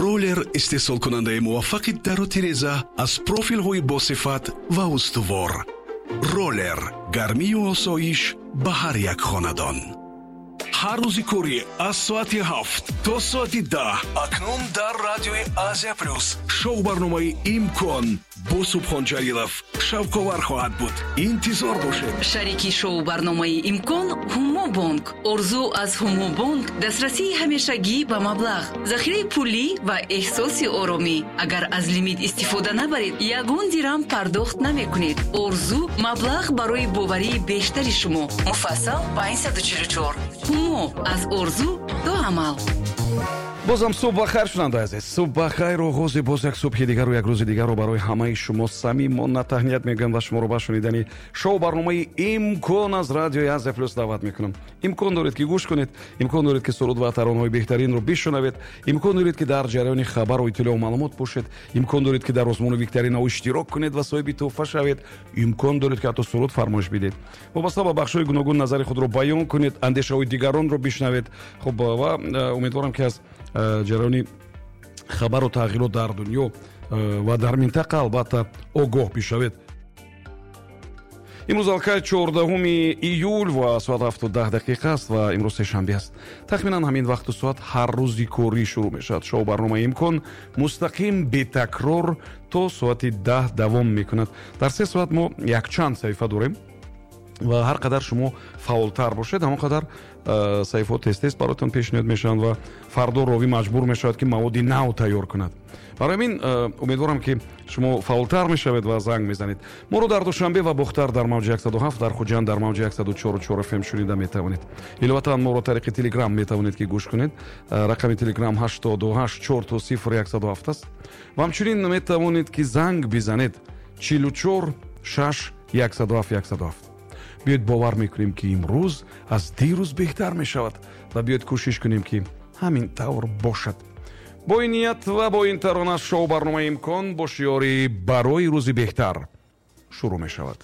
Роллер, истеҳсолкунандаи муваффақи дару тиреза аз профилҳои босифат ва устувор. Роллер, гармию осоиш ба ҳар як хонадон. Ҳар рӯзи корӣ аз соати 7 то соати 10 акнун дар радиои Азия Плюс шоу барномаи «Имкон» бо Субҳон Ҷалилов шавқовар хоҳад буд. Интизор бошед. Шарики шоу барномаи «Имкон» Ҳумобонк. Орзу аз Ҳумобонк: дастрасии ҳамешагӣ ба маблағ, захираи пулӣ ва эҳсоси оромӣ. Агар аз лимит истифода набаред, ягон дирам пардохт намекунед. Орзу: маблағ барои боварии бештари шумо. Муфассал 544. Ҳумо: аз орзу то амал. Бозам субҳ бахайр, шунавандаи азиз, субҳ бахайр. Оғози боз як субҳи дигару як рӯзи дигарро барои ҳамаи шумо самимона таҳният мегӯям ва шуморо ба шунидани шоу барномаи «Имкон» аз радиои Азия Плюс даъват мекунам. Имкон доред, ки гӯш кунед, имкон доред, ки суруд ва таронаҳои беҳтаринро бишунавед, имкон доред, ки дар ҷараёни хабару иттилоъу маълумот бошед, имкон доред, ки дар озмуну викторинаҳо иштирок кунед ва соҳиби тӯҳфа шавед, имкон доред, ки ҳатто суруд фармоиш бидед, вобаста ба бахшҳои гуногун назари худро баён кунед, андешаҳои дигаронро бишнавед. Хуб, ва умедворам, ки аз ҷараёни хабару тағйирот дар дунё ва дар минтақа албатта огоҳ бишавед. Имрӯз алкай 14 июл ва соат 7:10 аст ва имрӯз сешанбе аст. Тахминан ҳамин вақту соат ҳар рӯзи корӣ шурӯъ мешавад шоу барномаи «Имкон», мустақим, бетакрор то соати 10 давом мекунад. Дар 3 соат мо якчанд саҳифа дорем ва ҳар қадар шумо фаъолтар бошед, ҳамон қадар саҳифаҳо тез тез бароятон пешниҳод мешаванд ва фардо ровӣ маҷбур мешавад, ки маводи нав тайёр кунад. Барои ҳамин умедворам, ки шумо фаъолтар мешавед ва занг мезанед. Моро дар Душанбе ва Бохтар дар мавҷи 107, дар Хуҷанд дар мавҷи 104,4 ФМ шунида метавонед. Иловатан моро тариқи Телеграм метавонед, ки гӯш кунед. Рақами Телеграм 88 000 107 аст. Ва ҳамчунин метавонед, ки занг бизанед: 44 6 107 107. Биёед, бовар мекунем, ки имрӯз аз дирӯз беҳтар мешавад, ва биёед, кӯшиш кунем, ки ҳамин тавр бошад. Бо ин ният ва бо ин тарона шоу барномаи «Имкон» бо шиёри «Барои рӯзи беҳтар» шурӯъ мешавад.